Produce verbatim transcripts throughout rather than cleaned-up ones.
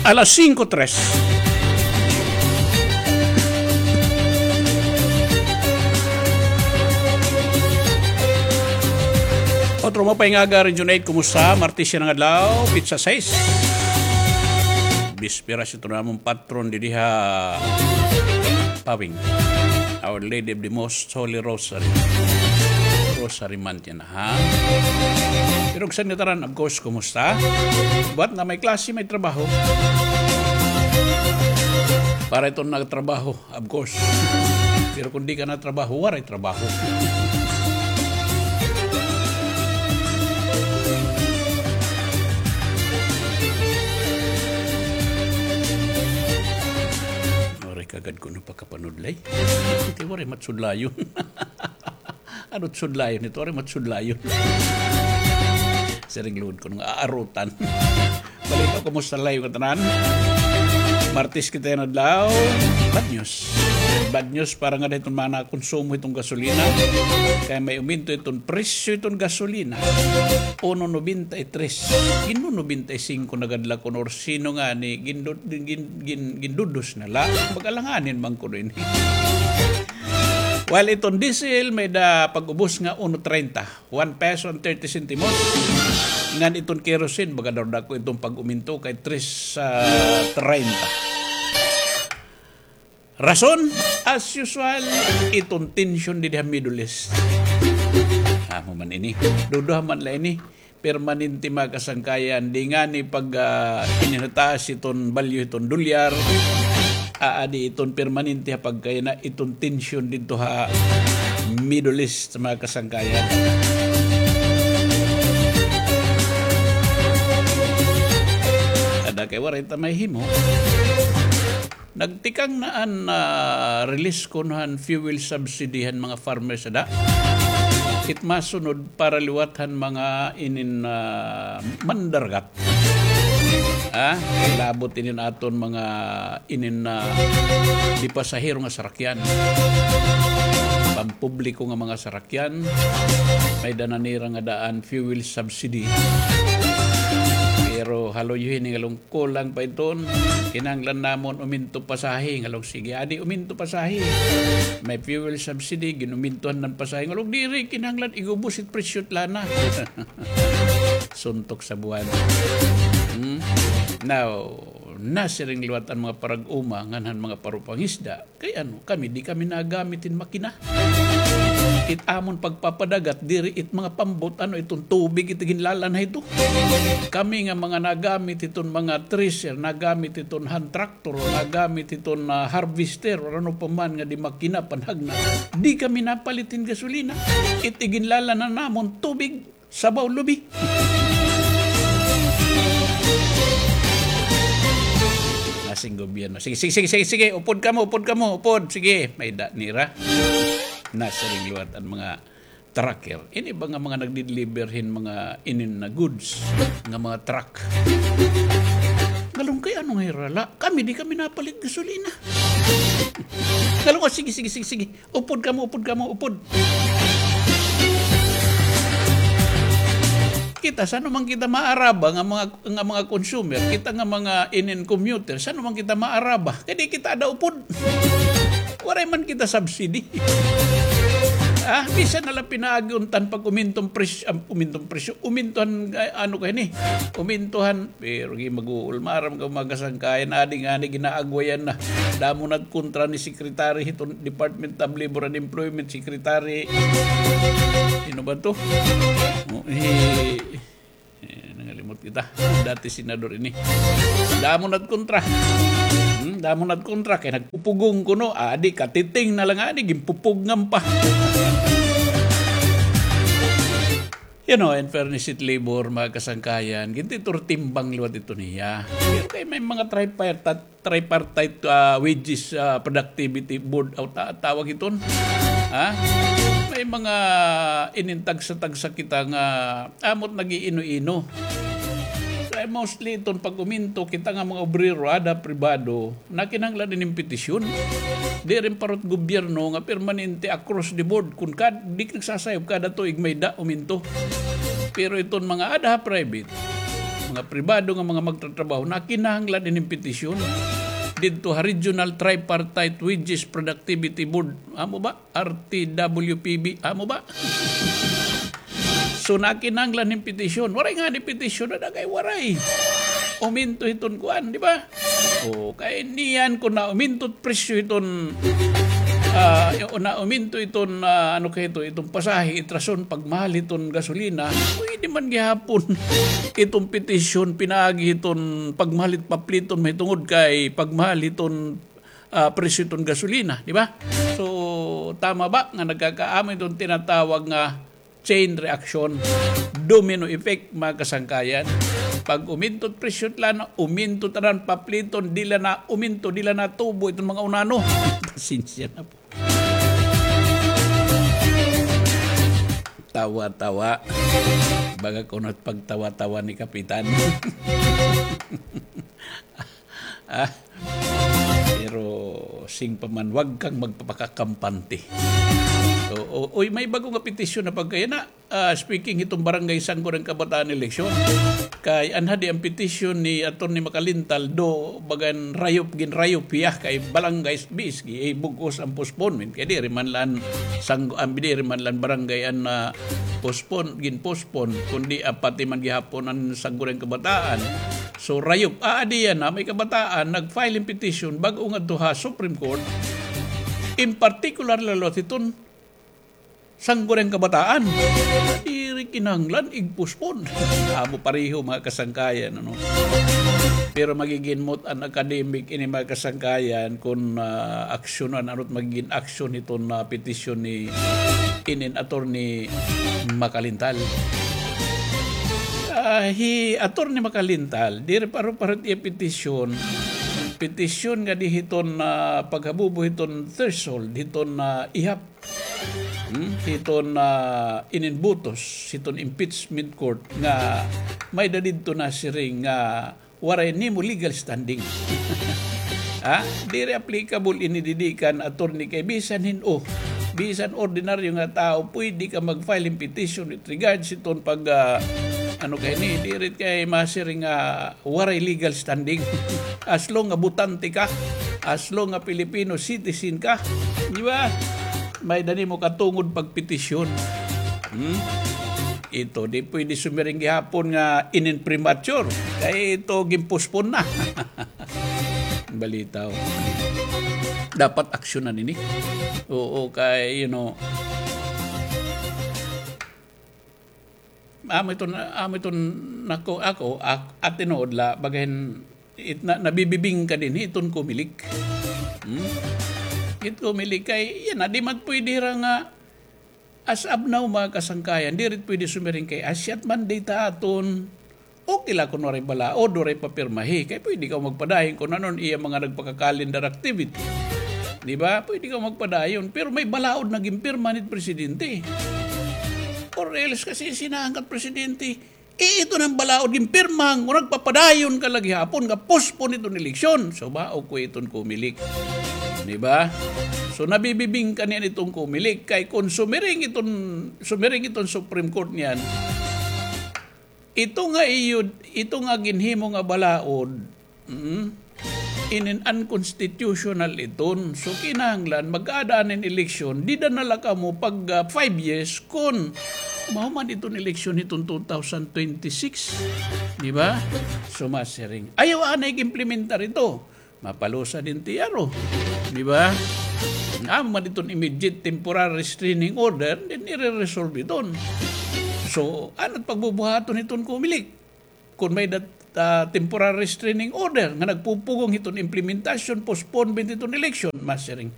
Alas singko tres. Otro maupay nga aga, Region eight, kumusta? Martes yana nga adlaw, petsa sais. Bisperas ito namon patron didi ha Pawing. Our Lady of the Most Holy Rosary. Rosary Month yana, ha? Pero san ngatanan, of course, kumusta? Buhat nga may klase, may trabaho. Para iton nagtrabaho, of course. Pero kon di ka natrabaho, waray trabaho. Waray kagad kuno pakapanudlay. Iti waray matsudlayon. Ano it sudlayon ito? Waray matsudlayon. Siring liwat kuno nga aarutan. Balita, kumusta la iyo ngatanan? Martes kita yana nga adlaw. Bad news. Bad news para ngada hiton mga nakonsumo hiton gasolina. Kay may uminto iton presyo hiton gasolina. Uno nobenta y tres. Gin-nobenta y singko na gad la kuno, or sino ngani, gindu-, gin-, gin-, gindudos na la. Pag-alanganin man kuno ini. While iton diesel, may-ada pag-ubos nga uno treinta. One peso and thirty sentimos. Ngan iton kerosene, baga daw dako iton pag-uminto kay tres, ah, treinta. Rason, as usual, iton tension didi ha Middle East. Amo man ini. Duduha man la ini. Permanente, mga kasangkayan, di ngani pag, ah, ininataas iton balyo hiton dolyar, aadi iton permanente ha pagkayana iton tension didto ha Middle East, mga kasangkayan. Ada kay waray ta mahimo. Nagtikang na an, ah, release kuno han fuel subsidy han mga farmers ada. It masunod para liwat han mga inin, ah, mandaragat. Ah, labot inin aton mga inin, ah, di pasahero nga sarakyan. Pampubliko nga mga sarakyan. May-ada na nira nga daan fuel subsidy. Pero haluyohi ini nga lung- Kulang pa iton, kinahanglan namon uminto pasahe. Ngalong sige, adi uminto pasahe. May fuel subsidy, gin-umintohan na an pasahe. Ngalong diri, kinahanglan igubos it presyo it lana. Suntok sa buwan. Hmm? Now, nasiring liwat an mga parag-uma ngan han mga parupangisda. Kay ano, kami, di kami nagamit hin makina. It amon pagpapadagat, diri it mga pambot, ano, iton tubig, it ginlalanha ito. Kami nga mga nagamit iton mga thresher, nagamit iton hand tractor, nagamit iton, ah, harvester, or ano pa man nga di makina, panhagna. Di kami napalit hin gasolina. It iginlalanha namon tubig. Sabaw lubi. Nasing gobyerno. Sige, sige, sige, sige, sige. Upod kamo, upod kamo, upod. Sige, may-ada nira. Nasiring liwat an mga trucker. Ini ba nga mga nagdi-deliver hin mga inin na goods nga mga truck? Ngalong kay ano nga hira la? Kami, di kami napalit gasolina. Ngalong, oh, sige, sige, sige, sige. Upod kamo, upod kamo, upod. Kita, san-o man kita maaraba nga mga, nga mga consumer, kita nga mga inin commuter, san-o man kita maaraba? Kay di kita ada upod. Waray man kita subsidy. Ah, bisan na la pinaagi unta han pag-uminto han presyo, ah, uminto han presyo, uminto han, ah, ano kay ini? Uminto han Pero gi mag-uul, maaram ka, mga kasangkayan, adi ngani ginaagwayan na. Damo na it kontra ni Secretary hiton Department of Labor and Employment, Secretary, sino ba to? Oh, eh, eh, nangalimot kita. Dati senador ini. Damo na it kontra. Hmm, damo na it kontra. Kay nagpupugong kuno. Adi, katiting na lang, adi, ginpupugngan pa. You know, in fairness it labor, mga kasangkayan, gintiturtimbang liwat ito niya. Pero kay may mga tripartite, tripartite, ah, wages, ah, productivity board, aw, ta-, tawag iton. Ha? May mga inintagsa-tagsa kita nga amot nag-iino-ino. Kay mostly iton pag-uminto, kita nga mga obrero, ada pribado, Nakinahanglan inin petisyon. Diri parot gobyerno nga permanente across the board. Kun kad-, di nagsasayop kada tuig may da uminto. Pero iton mga ada ha private, nga pribado nga mga magtatrabaho, nakinahanglan ining petisyon didto ha Regional Tripartite Wages Productivity Board. Amo ba? R T W P B. Amo ba? So, nakinahanglan hin petisyon. Waray ngani petisyon, ada kay waray. Uminto hiton kuan, di ba? O, kay niyan kon nauminto it presyo hiton, ah, o nauminto iton, ah, ano kay ito, iton pasahe, it rason pagmahal hiton gasolina, pwede man gihapon iton petisyon pinaagi hiton pagmahal it papliton mahitungod kay pagmahal hiton, ah, presyo hiton gasolina, di ba? So, tama ba nga nagkakaamo iton tinatawag nga chain reaction, domino effect, mga kasangkayan? Pag uminto it presyo hit lana, uminto tanan papliton, diri la uminto, diri la natubo iton mga unano. Pasensya na po. Tawa-tawa. Baga kuno it pagtawa-tawa ni Kapitan. Ah, pero sing pa man, wag kang magpapakakampante. O, o, uy, may bago nga petisyon na pagkayana. Ah, speaking hiton Barangay Sangguniang Kabataan eleksyon, kay anha di an petisyon ni Attorney Makalintal, do bagan rayop, ginrayop hiya kay barangay bis, eh, bug-os an postponement. Kay diri man la an sanggo-, an diri man la an barangay an, ah, postpone, ginpostpone, kundi, ah, pati man gihapon an Sangguniang Kabataan. So, rayop, aadi yana, may kabataan nag-file hin petisyon bag-o ngadto ha Supreme Court, in particular la liwat hiton Sangguniang Kabataan. Diri kinahanglan ig-postpone. Amo pareho, mga kasangkayan, ano. Pero magiginmot an academic ini, mga kasangkayan, kon, ah, aksyonan, ano it magigin aksyon hiton, ah, petisyon ni inin Attorney Makalintal. Ah, hi Attorney Makalintal, diri paro-paro it iya petisyon. Petisyon ngadi hiton, ah, paghabubo hiton threshold, hiton, ah, ihap Hmm, hiton, ah, inin butos hiton impeachment court nga may-ada didto nasiring nga waray nimo legal standing. Ha? Diri applicable ini didi kan attorney kay bisan hin-o, bisan ordinaryo nga tawo, pwede ka mag-file hin petition with regards hiton pag, ah, ano kay ni, diri kay masiring nga waray legal standing. As long nga botante ka, as long nga Filipino citizen ka, di ba? May-ada nimo katungod pagpetisyon. Hmm? Ito, di pwede sumiring gihapon nga inin premature. Kay ito, ginpostpone na. Balitaw. Dapat aksyonan ini. Oo, kay, you know, Amo iton, amo iton nako, ako, ak-, at tinuod la, bagahin, it, na, nabibibingka dinhi iton Comelec. Hmm? It Comelec kay, yana, di man pwede hira nga, as of now, mga kasangkayan, diri pwede sumiring kay, asyat man data aton, okay la kun waray balaod, waray papirmahi. Kay pwede ka magpadayon kun ano an iya mga nagpaka-calendar activity. Di ba? Pwede ka magpadayon. Pero may balaod na ginpirma hit presidente. Or else kasi sinangkat presidente, eh, ito na an balaod ginpirma, kun nagpapadayon ka la gihapon nga postpone iton eleksyon. So, maupay iton Comelec. Di ba? So, nabibibingka niyan iton Comelec. Kay kun sumiring iton, sumiring iton Supreme Court niyan, ito nga iyo, ito nga ginhimo nga balaod, mm, inin unconstitutional iton. So, kinahanglan, mag-aada hin eleksyon, dida na la kamo pag, ah, five years, kun mahuman iton eleksyon hiton two thousand twenty-six. Di ba? So, masiring. Ayaw anay ig-implementar ito. Mapalusa din tiyaro. Di ba? Amo man iton immediate temporary restraining order, then ire-resolve iton. So, ano it pagbubuhaton hiton Comelec? Kun may-ada, ah, temporary restraining order nga nagpupugong hiton implementasyon, postponement hiton eleksyon, masiring.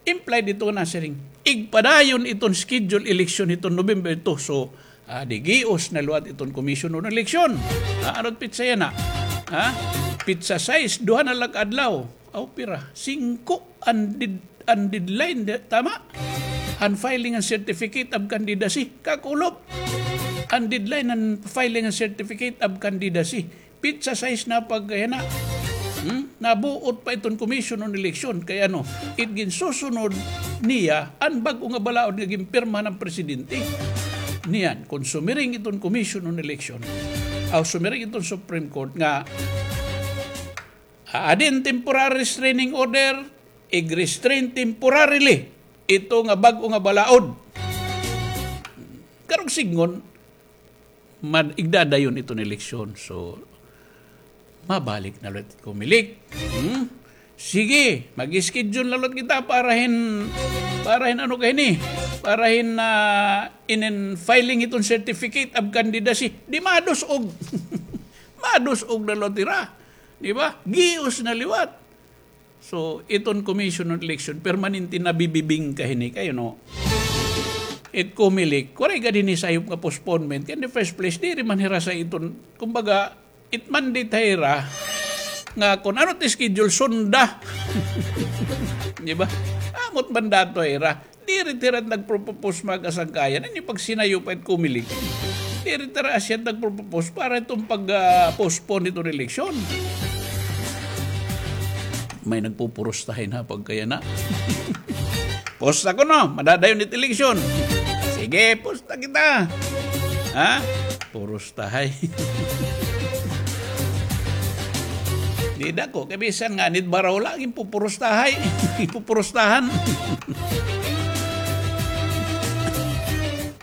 Implied ito nga nasiring, igpadayon iton schedule election hiton November two. So, ah, di gios na liwat iton Commission on Election. Ah, ano it pitsa yana? Ha? Pitsa sais, duha na la ka adlaw. Aw, pira? Singko an dead-, an deadline, di-, tama? An filing an certificate of candidacy. Kakulop. An deadline an filing an certificate of candidacy. Pitsa sais na pagkayana. Hmm? Nabuot pa iton Commission on Election. Kay ano, it ginsusunod niya, an bag-o nga balaod nga ginpirma han presidente. Niyan, kun sumiring iton Commission on Election, aw sumiring iton Supreme Court nga, ah, aadi an temporary restraining order, ig-restrain temporarily ito nga bag-o nga balaod. Karuyag sidngon, mad-, igdadayon iton eleksyon. So, mabalik na liwat it Comelec. Hmm? Sige, mag-schedule na liwat kita para hin, para hin ano kay ni, para hin, ah, inin filing iton certificate of candidacy. Di madus-og. Madus-og na liwat hira. Di ba? Gios na liwat. So, iton Commission on Election, permanente nabibibingka hini kay, no? It Comelec, waray gad hini sayop nga postponement. Kay in the first place, diri man hira sa iton, kumbaga, it mandate ha ira nga kun ano it schedule, sunda. Di ba? Amo it mandato ha ira. Diri hira nagpropose, mga kasangkayan. Ini pagsinayop it Comelec. Diri hira asya nagpropose para iton pag, ah, postpone iton eleksyon. May nagpupurusta hin ha pagkayana. Pusta kuno, madadayon it eleksyon. Sige, pusta kita. Ha? Purustahay. Di dako, kay bisan nga anit baraw la, ginpupurustahay. Ginpupurustahan.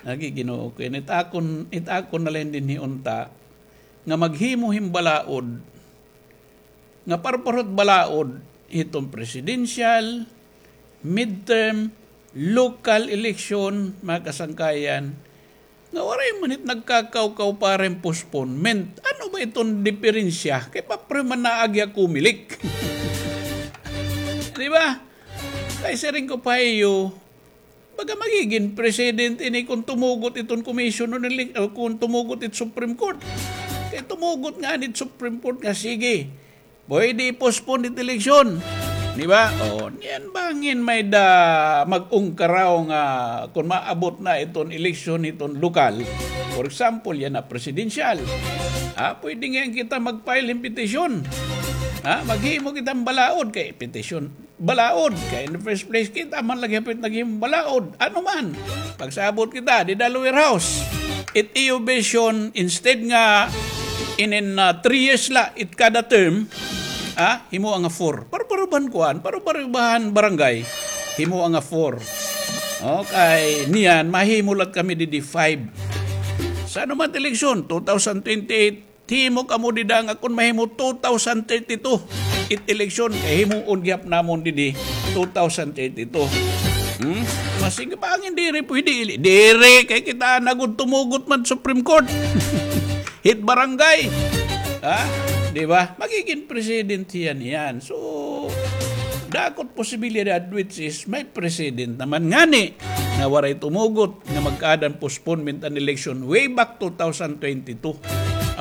Lagi, Ginoo ko, it akon, it akon na la ini dinhi unta, nga maghimo hin balaod, nga parparot balaod hiton presidential, midterm, local election, mga kasangkayan, nga waray man it nagkakawkaw para hin postponement. Ano ba iton diperensya? Kay pareho man naagi ha Comelec. Di ba? Kay siring ko pa ha iyo, baga magigin precedent ini kun tumugot iton commission on ele-, o kun tumugot it Supreme Court. Kay tumugot ngani it Supreme Court nga, sige, pwede i-postpone it eleksyon. Di ba? O, niyan bangin may-ada mag-ungkaraw nga kun maabot na iton eleksyon iton lokal. For example, yana presidential. Ha, pwede ngay-an kita mag-file hin petisyon. Ha, maghimo kita hin balaod kay petisyon. Balaod. Kay in the first place, kita man lagi hapit naghimo hin balaod. Ano man? Pagsabot kita, dida lower house. It iyo version, instead nga inin, ah, three years la it kada term, ah, himoa nga four. Pareho-pareho ba han kuan, pareho-pareho ba han barangay, himoa nga four. Okay, niyan, mahimo la it kami didi five. Sa ano man it eleksyon, two thousand twenty-eight, himo kamo dida nga kun mahimo two thousand thirty-two it eleksyon, kay himoon gihap namon didi two thousand thirty-two. Hmm? Masing bangin diri pwede, ili-, diri, kay kita na gud tumugot man Supreme Court. Hit barangay. Ha? Di ba? Magigin precedent hiya niyan. So, dako it posibilidad, which is may precedent naman ngani nga waray tumugot nga magkaada hin postponement an election way back two thousand twenty-two.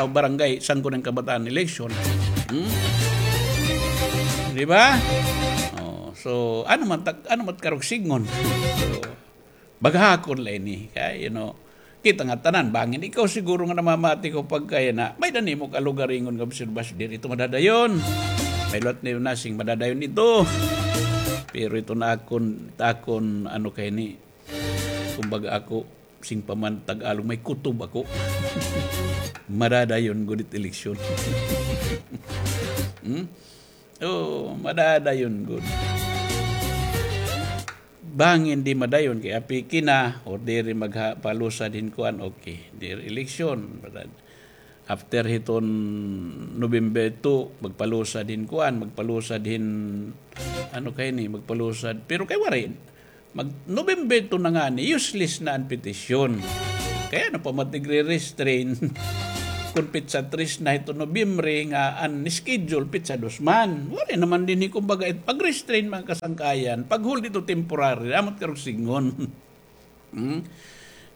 Aw, barangay, Sangguniang Kabataan election. Hmm? Di ba? Oh, so, ano man ta-, ano man karuyag sidngon? So, baga ha akon la ini. Kay, you know, kita nga tanan, bangin ikaw siguro nga namamati ko pagkayana, may-ada nimo kalugaringon nga obserbasyon, diri ito madadayon. May liwat niyo nasing madadayon ito. Pero ito na akon, akon, ano kay ni, kumbaga ako, sing pa man Tagalog, may kutob ako. Madadayon gud it eleksyon. Hmm? Oo, madadayon gud. Bangin di madayon kay apiki na, or diri magha-, palusad hin kuan, okay. Diri eleksyon. After hiton November two, magpalusad hin kuan, magpalusad hin, ano kay ni, magpalusad. Pero kay waray, mag-, November two na ngani, useless na an petisyon. Kay ano pa man it igre-restrain kun petsa tres na hiton Nobyembre nga an schedule petsa dos man. Waray naman dinhi, kumbaga, it pag-restrain, mga kasangkayan, pag-hold ito temporary, amo it karuyag sidngon. Hmm?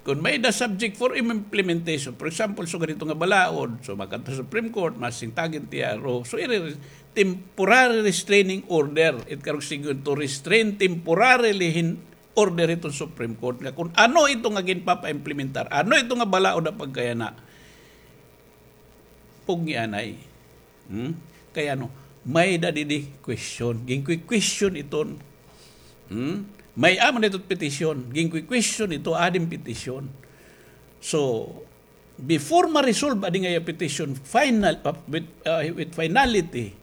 Kun may-ada subject for implementation, for example, sugad hito nga balaod, so makadto Supreme Court, masing tag-in T R O, so iri-, temporary restraining order, it karuyag sidngon to restrain temporarily hin order hiton Supreme Court nga kun ano ito nga ginpapa-implementar, ano ito nga balaod ha pagkayana. Pugngi anay. Hmm? Kay ano, may-ada didi question. Ginque-question iton. Hmm? May-ada man ito petisyon. Ginque-question ito, aadi hin petisyon. So, before ma-resolve adi nga iya petition final, uh, with, uh, with finality,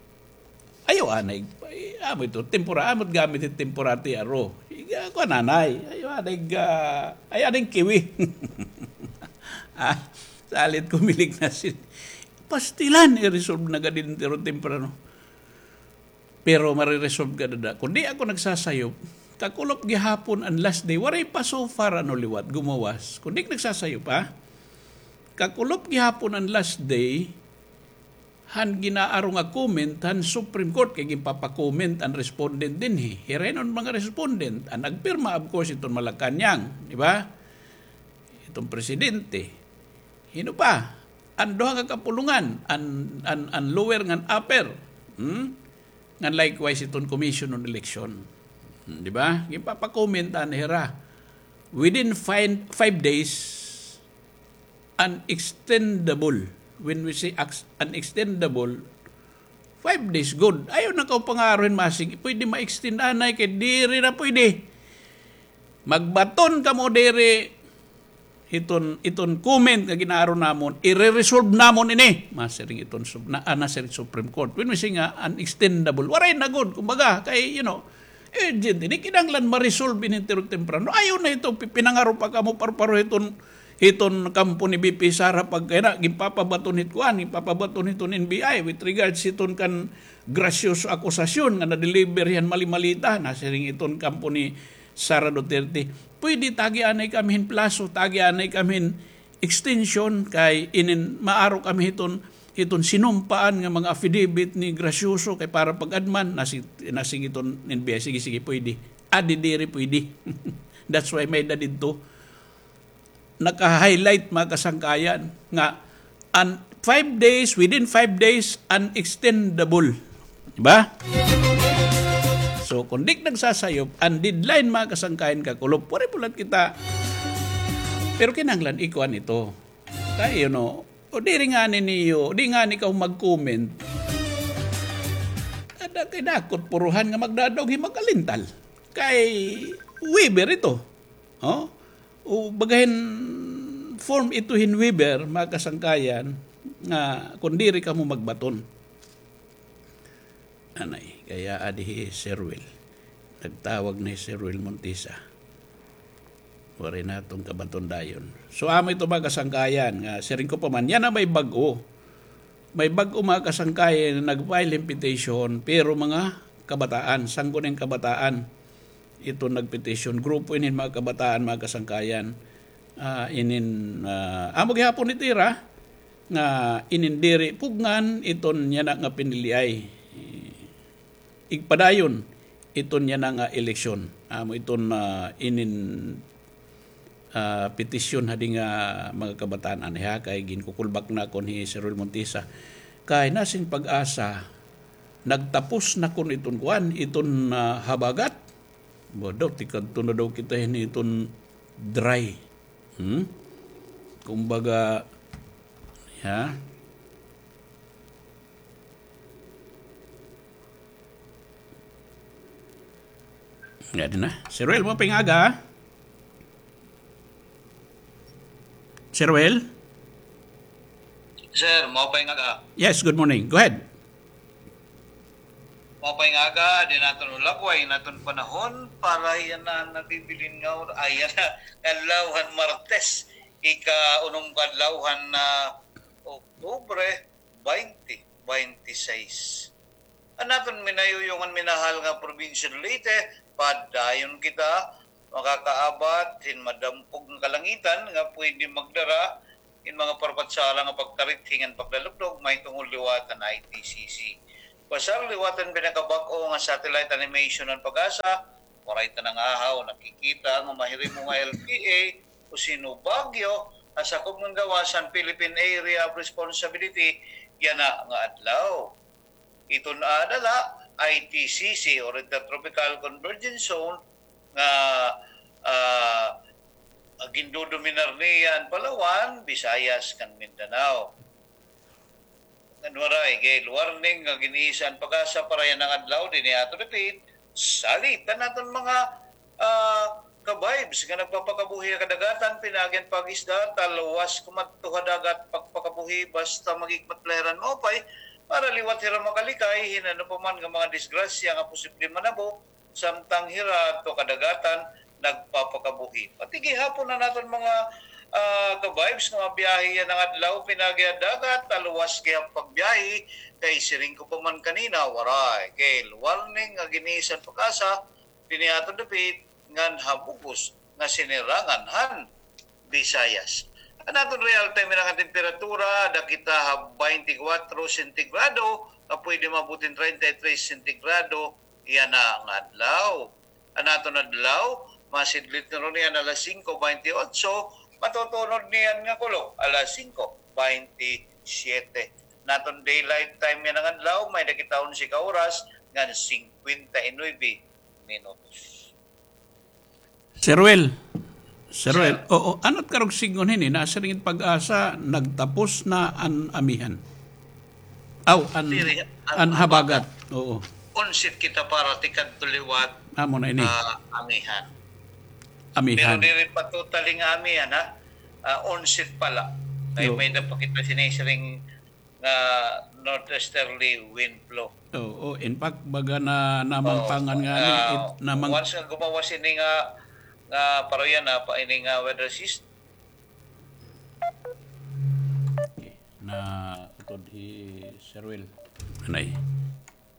ayaw anay, ay, amo ito, tempora-, amo it gamit it temporary T R O. Iga, kuan anay, ayaw anay, ah, ay, anay kiwi. Ah, salit kumilig na sin-, pastilan, i-resolve na gad ini temprano. Pero mariresolve ka dada. Kun di ako nagsasayop, kakulop gihapon an last day. Waray pa so far, ano, liwat, gumawas. Kun di nagsasayop, ha? Kakulop gihapon an last day, han ginaaro nga comment, han Supreme Court, kay ginpapa-comment an respondent dinhi. Hira hiton mga respondent, an nagpirma, of course, iton Malacañang, di ba? Iton presidente. Hin-o pa? An duha ka kapulongan, an, an, an lower ngan upper. Hmm? Ngan likewise iton Commission on Election. Hmm, di ba? Ginpapa-comment anay hira. Within five, five days, unextendable. When we say ex-, unextendable, five days, good. Ayaw na kaw pangaruhi masig, pwede ma-extend anay kay diri na pwede. Magbaton kamo diri, iton, iton comment nga ginaaro namon, ire-resolve namon ini. Masiring iton sub-, na, ah, nasiring Supreme Court. When we say nga unextendable, waray na gud. Kumbaga, kay, you know, urgent ini, kinahanglan ma-resolve ini tiro temprano. Ayaw na ito, pi-, pinangaro pa kamo, pareho-pareho iton, iton kampo ni V P Sara pagkay na, ginpapabaton hit kuan, ginpapabaton hiton N B I with regards hiton kan gracioso akusasyon nga na-deliver hiya hin mali-mali ta, nasiring iton kampo ni Sara Duterte. Pwede tagi anay kami hin plaso, tagi anay kami hin extension kay inin maaro kami hiton, hiton sinumpaan nga mga affidavit ni gracioso kay para pag-adman, nasi-, nasiring iton N B I, sige, sige, pwede. Adi diri pwede. That's why may-ada didto naka-highlight, mga kasangkayan, nga an five days, within five days, unextendable. Di ba? So, kun di nagsasayop, an deadline, mga kasangkayan, kakulop. Waray pulat kita. Pero kinahanglan ikuan ito. Kay, you know, o diri ngani niyo, di ngani kaw mag-comment. Ada kay dakot puruhan nga magdadaog hin mag-alintal. Kay waiver ito. Oh? O, baga hin form ito hin waiver, mga kasangkayan, nga kun diri kamo magbaton. Anay, kay adi hi Sir Will. Nagtawag na hi Sir Will Montisa. Waray naton kabaton dayon. So, amo ito, mga kasangkayan, nga siring ko pa man, yana may bag-o. May bag-o, mga kasangkayan, nga nag-file hin petition, pero mga kabataan, sangguniang kabataan. Ito nagpetition. Grupo inin mga kabataan, mga kasangkayan. Ah, inin, ah, amo gihapon it ira nga inin diri pugngan iton yana nga piniliay. Igpadayon iton yana nga eleksyon. Amo iton, ah, inin, ah, petisyon hadi nga mga kabataan anay ha, kay ginkukulbak nakon hi Sir Will Montisa. Kay nasiring PAGASA, nagtapos na kon iton kuan, iton, ah, habagat. Ba daw, tikadto na daw kita hini iton dry. Hmm? Kumbaga, ya. Nga din na. Sir Will, maupay nga aga, ha? Sir Will? Sir, maupay nga aga. Yes, good morning. Go ahead. Maupay nga aga, di naton ulagway, naton panahon, para yana nabibilin nga or-, ay, yana, adlaw han Martes, ika-unom ka adlaw han, ah, Oktubre, baynte, baynte sais. An aton minayuyong ngan minahal nga probinsya Leyte, padayon kita makakaabat hin madampog nga kalangitan nga pwede magdara hin mga parpatsala nga pagtarithi ngan paglalugdog mahitungod liwat han I T C C. Basar liwat han pinakabag-o nga satellite animation han PAGASA, waray ta nangahaw nakikita nga mahirimo nga L P A o sino Baguio ha sakob ngan gawas han Philippine Area of Responsibility yana nga adlaw. Iton ada la, I T C C or Intertropical Convergence Zone nga, ah, gindodominar niya an Palawan, Visayas, ngan Mindanao. Ngan waray gale warning nga gin-iisa han PAGASA para yana nga adlaw, dinhi aton repeat, salit an aton mga, ah, ka-vibes nga nagpapakabuhi ha kadagatan, pinaagi an pag-isda, talwas kumadto ha dagat, pagpakabuhi, basta maghikmat la hira hin maupay, para liwat hira makalikay hin ano pa man nga mga disgrasya nga posible manabo, samtang hira adto kadagatan nagpapakabuhi. Pati gihapon an aton mga, ah, ka-vibes nga mabiyahe yana nga adlaw, pinaagi ha dagat, talwas gihap pagbiyahe, kay siring ko pa man kanina, waray. Kay warning nga ginisan PAGASA, dinhi ha aton dapit, ngan ha bug-os nga sinirangan han Visayas. An aton real time nga temperatura, ada kita ha baynte kwatro sentigrado, nga pwede maabot hin treinta y tres sentigrado yana nga adlaw. An aton adlaw, masidlit na runo niyan alas singko baynte otso, matutunod niyan nga kulop alas singko baynte siyete. An aton daylight time yana nga adlaw, may-ada kita onse ka oras ngan singkwenta y nuebe minutos. Sir Will. Sir Will, oo, ano it karuyag sidngon hini, nasiring it PAGASA, nagtapos na an amihan. Aw, an, an habagat. Oo. Onse it kita para tikadto liwat, amo na ini, ah, amihan. Amihan. Pero diri pa totally nga amihan, ha? Ah, onse it pa la. Kay may-ada pa kita sinisiring nga northeasterly wind flow. Oo, in fact, baga na namangpangan nga ni, ah, it, namang- once nga gumawas ini nga, nga paruyan na pa ini nga weather system. Na utod hi Sir Will. Anay.